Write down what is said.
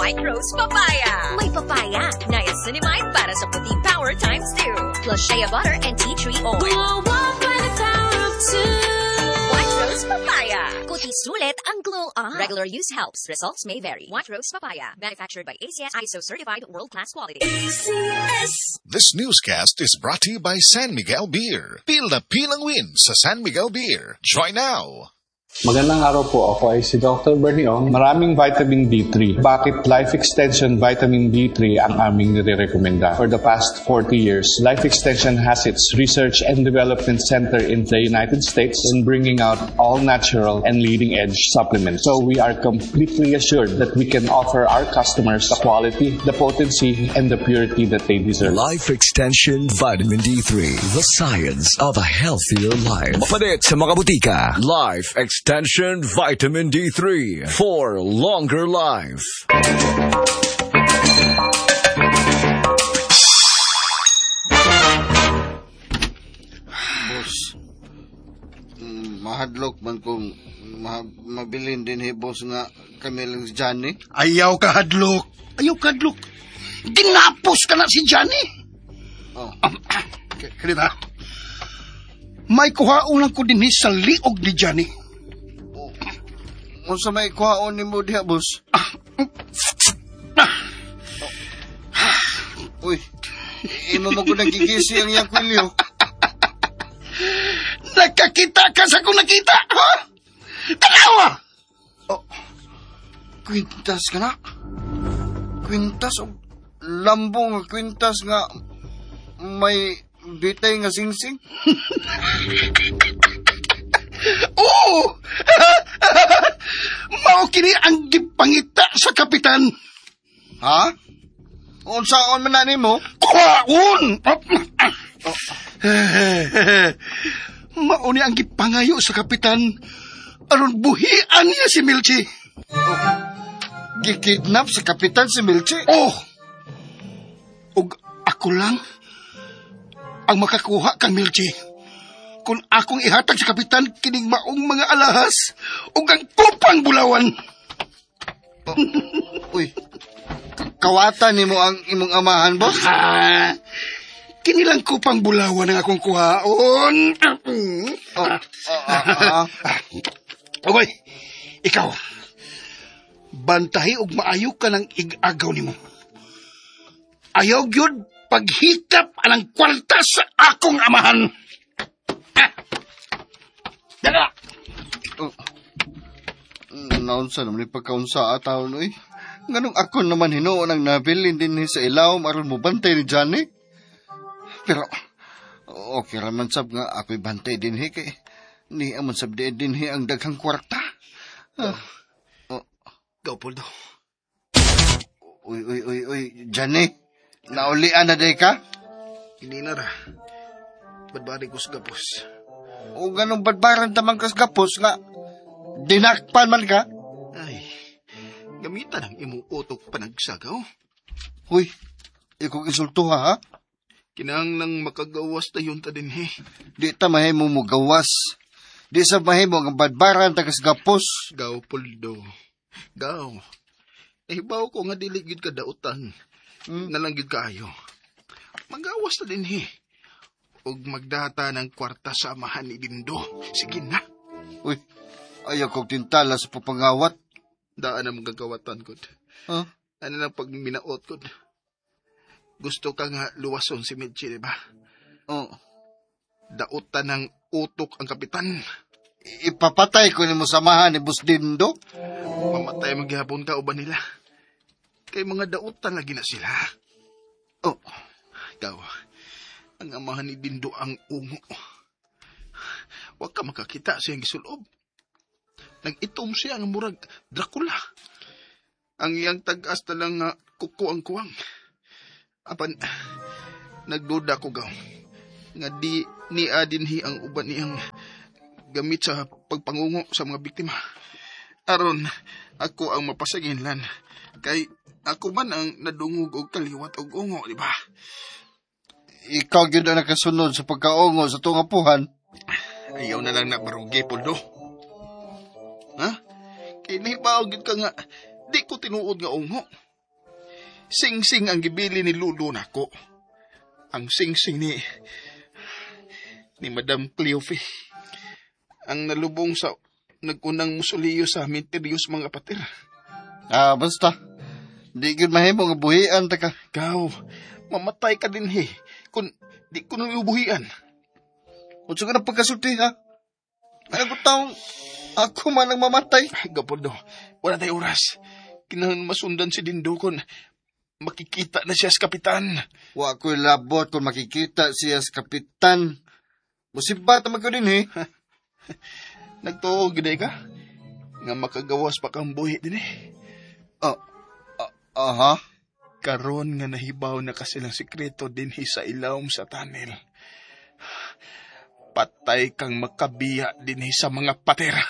White Rose Papaya. May papaya, niacinamide para sa puti power times 2. Plus shea butter and tea tree oil. Glow up by the power of two. White Rose Papaya. Kuti sulit ang glow up. Regular use helps. Results may vary. White Rose Papaya. Manufactured by ACS ISO certified world-class quality. ACS. This newscast is brought to you by San Miguel Beer. Feel the pilang win sa San Miguel Beer. Join now! Magandang araw po. Ako ay si Dr. Bernie Ong. Maraming vitamin D3. Bakit Life Extension Vitamin D3 ang aming nire-recommenda? For the past 40 years, Life Extension has its research and development center in the United States in bringing out all natural and leading edge supplements. So we are completely assured that we can offer our customers the quality, the potency, and the purity that they deserve. Life Extension Vitamin D3, the science of a healthier life. Palit sa mga botika. Life Extension Vitamin D3 for longer life. Boss, mahadlok man kung mabilin din he, boss, nga kami lang si Johnny. Ayaw ka hadlok. Ayaw ka hadlok. Ginapos ka na si Johnny. Oh. Kalita. May kuhaon lang ko din sa liog ni Johnny. Unsa may kuhaon nimo diha, boss? Uy, imo mo ko nagigisi ang iyang kwilyo. Nakakita ka sa kung nakita, ha? Tanawa! Oh, kwintas ka na? Kwintas o lambong nga kwintas nga may bitay nga singsing? Oo! Mao kini ang gipangita sa kapitan. Ha? Unsaon man na nimo? Kuhaon! Mao ni ang gipangayo sa kapitan aron buhian niya si Milchi. Oh, gikidnap sa kapitan si Milchi? Oh! Ug ako lang ang makakuha kang Milchi. Kung akong ihatag sa kapitan kining maong mga alahas ug ang kupang bulawan. Oh, uy, kawatan nimo ang imong amahan, boss? Ah, kinilang kupang bulawan ang akong kuhaon. Oh, oh. Okay, ikaw. Bantahi og maayo ka ng ig-agaw nimo. Ayaw gyud paghikap anang kwarta sa akong amahan. Dala! Oh. Naunsa naman pagkaunsa ataw, noy. Nganong ako naman hinuon ang nabilin din sa ilawom aron mo bantay ni Johnny. Pero, okay raman sab nga ako'y bantay din kay ni amon sab di din ang daghang kwarta. Oh. Go, Poldo. Uy, uy, uy, uy, Johnny. Naulian na day ka? Hindi na ra. Badbari ko sa gapos. O ganong badbaran tamang kas gapos nga dinakpan man ka? Ay, gamitan ang imong utok panagsagaw. Huy, ikaw insulto ha? Kinahanglang makagawas tayon ta din he. Di ta mahimo mo gawas. Di sa mahimo ang badbaran ta kas gapos. Gaw, Poldo. Gaw. Nahibaw ko nga dili gyud ka dautan. Nalang gyud kaayo. Magawas ta din he. Og magdata ng kwarta sa amahan ni Dindo. Sige na. Uy, ayaw kong tintala sa papangawat. Daan ang magagawatan ko. Huh? Ano lang pag minaot ko. Gusto ka nga luwason si Mitchie, di ba? Oo. Dautan ng utok ang kapitan. Ipapatay ko ni mo samahan ni Boss Dindo. Mamatay maghihapon ka o ba nila? Kay mga dautan lagi na sila. Oh. Ikaw, ang amahan ni Dindo ang ungo. Huwag ka makakita sa iyang gisulob. Nag-itom siya ang murag Dracula. Ang iyang tag-as na lang nga kuko ang kuwang. Apan, nagduda ko gaw. Nga di niya dinhi ang uban niyang gamit sa pagpangungo sa mga biktima. Aron, ako ang mapasaginlan. Kay ako man ang nadungog og kaliwat og ungo, di ba? Ikaw gyud ang nakasunod sa pagkaungo sa tunga puhan. Ayaw na lang na barugi, Poldo. Ha? Kay nahibaw gyud ka nga, di ko tinuod nga ungo. Sing-sing ang gibili ni Lulu nako. Ang sing-sing ni Madam Cleofe. Ang nalubong sa nagunang musuliyo sa misteryos mga pater. Ah, basta. Di gyud mahimo nga buhian ta ka. Ikaw, mamatay ka din he. Kung di ko nang ibuhian. Unsa ka na pagkasulti ha? Ano taong ako man ang mamatay? Gapoldo, wala tayo oras. Kinahanglan masundan si Dindo kon makikita na siya sa kapitan. Wa ko'y labot kung makikita siya sa kapitan. Musibat naman ko din eh. Nagtuo gid ka? Nga makagawas pa kang buhi din eh. Aha. Karon nga nahibaw na ka silang sikreto dinhi sa ilawom sa tunnel. Patay kang makabiya dinhi sa mga patera.